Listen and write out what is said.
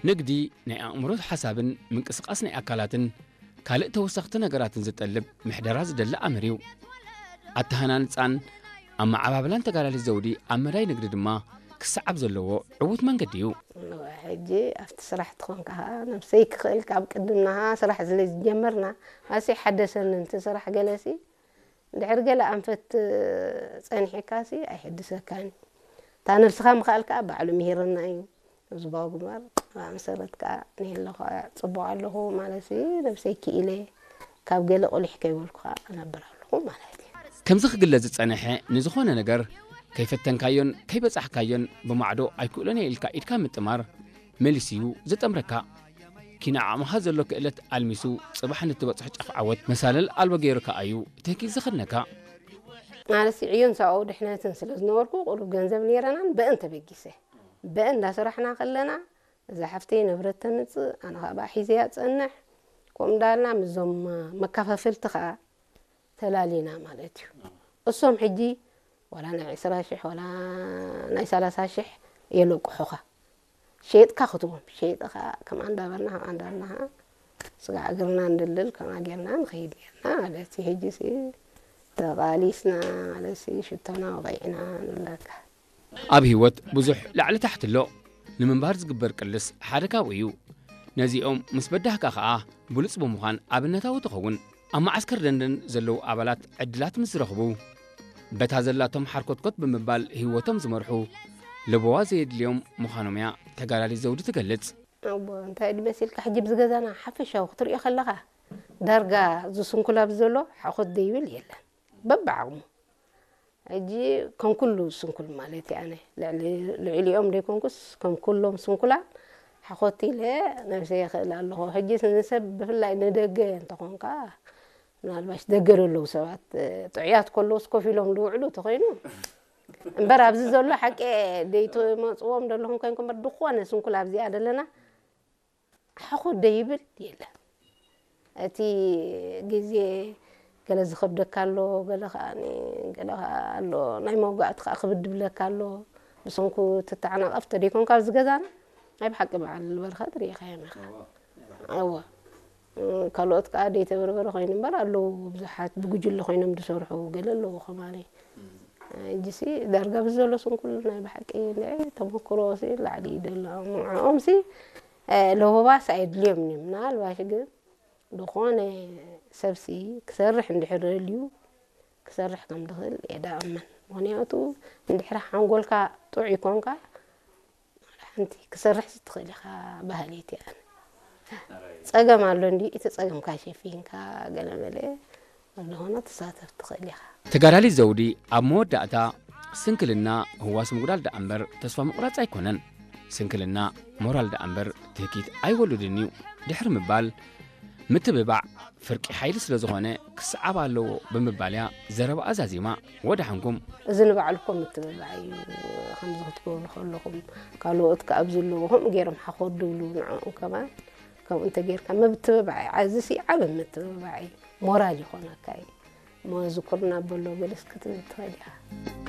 ንግዲ ናይ ኣእምሮ ሓሳብን ምንቅስቓስ ናይ ኣካላትን ካልእ ተወሰኽቲ ነገራትን ዝጠልብ ምሕደራ ዝደሊ ኣምር እዩ። ኣተሃናንጻን ኣመዓባብላን ተጋዳሊት ዘውዲ ኣብ መዳይ ንግዲ ድማ ክሰዓብ ዘለዎ ዕዉት መንገዲ እዩ። ሕጂ ኣብቲ ስራሕ ትኾንካ ኸዓ ነብሰይ ክኽእል ካብ ቅድምና ኸዓ ስራሕ ስለ ዝጀመርና ኣሲ ሓደሰኒ። እቲ ስራሕ ገለሲ እንድሕር ገለ ኣንፈት ጸኒሕካሲ ኣይሕድሰካን። እታ ነብስኻ ምኽኣል ከኣ ባዕሉ ምሂርና እዩ። ህዝባዊ ግንባር ኣብ መሰረት ከኣ ንህለኹ ጽቡቕ ኣለኹ ማለት እዩ። ነብሰይ ክኢለ ካብ ገለ ቁሊሕ ከይበልኩ ከኣ እነብር ኣለኹ ማለት እዩ። ከምዚ ክግለጽ ዝጸንሐ ንዝኾነ ነገር ከይፈተንካዮን ከይበጻሕካዮን ብማዕዶ ኣይክእሎን እየ ኢልካ ኢድካ ምጥማር መሊሱ እዩ ዘጠምረካ። ኪነ ዓቕምኻ ዘሎ ክእለት ኣልሚሱ ጽባሕ ንትበጽሖ ጫፍ ዓወት መሳለል ኣልቦ ገይሩ ከኣ እዩ ትህኪት ዘኸድነካ። ማለት ዕዮን ሰብኣዊ ድሕነትን ስለ ዝነበርኩ ቁሩብ ገንዘብ ነይረናን በእን ተበጊሰ በእን እንዳሰራሕና ከለና እዛ ሓፍተይ ንብረት ተምጽእ ኣነ ከዓ ብኣ ሒዘያ ጸንሕ ከምኡ እንዳልና ምስዞም መከፋፈልቲ ከዓ ተላሊና ማለት እዩ። እሶም ሕጂ ዋላ ናይ ዕስራ ሽሕ ዋላ ናይ ሰላሳ ሽሕ የለቅሑኻ ሸይጥካ ክትቦም ሸይጥኻ ከምኣ እንዳበልና ከምኣ እንዳበልና ስጋዕ እግርና እንድልል ከምኣ ጌርና ንኸይድ ኔርና ማለት እዩ። ሕጂ ሲ ተቓሊስና ማለት ሲ ሽቶና ወቒዕና ንብለካ። ኣብ ህይወት ብዙሕ ላዕሊ ታሕቲ ኣሎ። ንምንባር ዝግበር ቅልስ ሓደ ካብኡ እዩ። ነዚኦም ምስ በዳህካ ኸኣ ብሉጽ ብምዃን ኣብነታዊ ትኸውን። ኣብ መዓስከር ደንደን ዘለዉ ኣባላት ዕድላት ምስ ዝረኽቡ በታ ዘላቶም ሓርኮትኮት ብምባል ህይወቶም ዝመርሑ ለበዋ ዘየድልዮም ምዃኖም እያ ተጋዳሊት ዘውዲ ትገልጽ። ኣቦ እንታይ ድመሲልካ ሕጂ ብዝገዛና ሓፈሻዊ ክትሪኦ ከለኻ ዳርጋ ዝስንኩላ ብዘሎ ሓኾት ደይብል የለን በብዓቕሙ። ሕጂ ከም ኩሉ ስንኩል ማለት እየ ኣነ ልዕሊ- ልዕሊኦም ደይኮንኩስ ከም ኩሎም ስንኩላን ሓኾት ኢለ ነብሰ የኽእል ኣለኹ። ሕጂ ንሰብ ብፍላይ ንደገ እንተኾንካ ምናልባሽ ደገ ዘለዉ ሰባት ጥዑያት ከለውስ ኮፍ ኢሎም ዝውዕሉ ተኾይኑ እምበር ኣብዚ ዘሎ ሓቂ ደይትመፅዎም ዘለኹም ኮይንኩም እምበር ዝኾነ ስንኩል ኣብዚኣ ዘለና ሓኾት ደይብል የለን። እቲ ግዜ ገለ ዝኸብደካ ኣሎ፣ ገለ ከኣ ገለ ከኣ ኣሎ ናይ መውጋእቲ ከኣ ክብድ ብለካ ኣሎ። ብሰንኩ ትተዓናቐፍ ተደይኮንካ ኣብዚ ገዛና ናይ ብሓቂ በዓል በረኸት ርኢኻዮም ኢኻ። እወ ካልኦት ከኣ ደይተበርበረ ኮይኑ እምበር ኣለዉ ብዙሓት ብጉጅለ ኮይኖም ዝሰርሑ ገለ ኣለዉ ከማኒ። ሕጂሲ ዳርጋ ብዘሎ ስንኩል ናይ ብሓቂ ንዐ ተመክሮ ሲ ላዕሊ እዩ ዘሎ። ንዕኦም ሲ ለበዋስ ኣየድልዮም እዩ ምናልባሽ ግን ዝኾነ ሰብሲ ክሰርሕ እንድሕር ደልዩ ክሰርሕ ከም ዝኽእል እየ ዳኣምን። ምኽንያቱ እንድሕር ሓንጎልካ ጥዑይ ኮንካ ሓንቲ ክሰርሕ ትኽእል ኢኻ ባህል እቲ ኣነ ጸገም ኣሎ እንዲ እቲ ጸገምካ ሸፊንካ ገለ መለ ዝኾነ ትሳተፍ ትኽእል ኢኻ። ተጋዳሊት ዘውዲ ኣብ መወዳእታ ስንክልና ህዋስ ምጉዳል ደኣ እምበር ተስፋ ምቑራጽ ኣይኮነን። ስንክልና ሞራል ደኣ እምበር ትህኪት ኣይወልድን እዩ ድሕሪ ምባል ምትብባዕ ፍርቂ ሓይሊ ስለ ዝኾነ ክሰዓብ ኣለዎ ብምባል እያ ዘረባኣ ዛዚማ። ወደሓንኩም። እዚ ንባዕሉ እኮ ምትብባዕ እዩ። ከምዚ ክትገብሩ ከለኹም ካልኦት ከኣ ኣብ ዘለዎ ከምኡ ገይሮም ሓኾት ድብሉ ንዕኦም ከማን ከምኡ እንተጌርካ ምትብባዕ እዩ። ዓዚ ሲ ዓቢ ምትብባዕ እዩ። ሞራል ይኾነካ እዩ። እሞ ዝኩርና በሎ ገለስ ክትብል ትኽእል ኢኻ።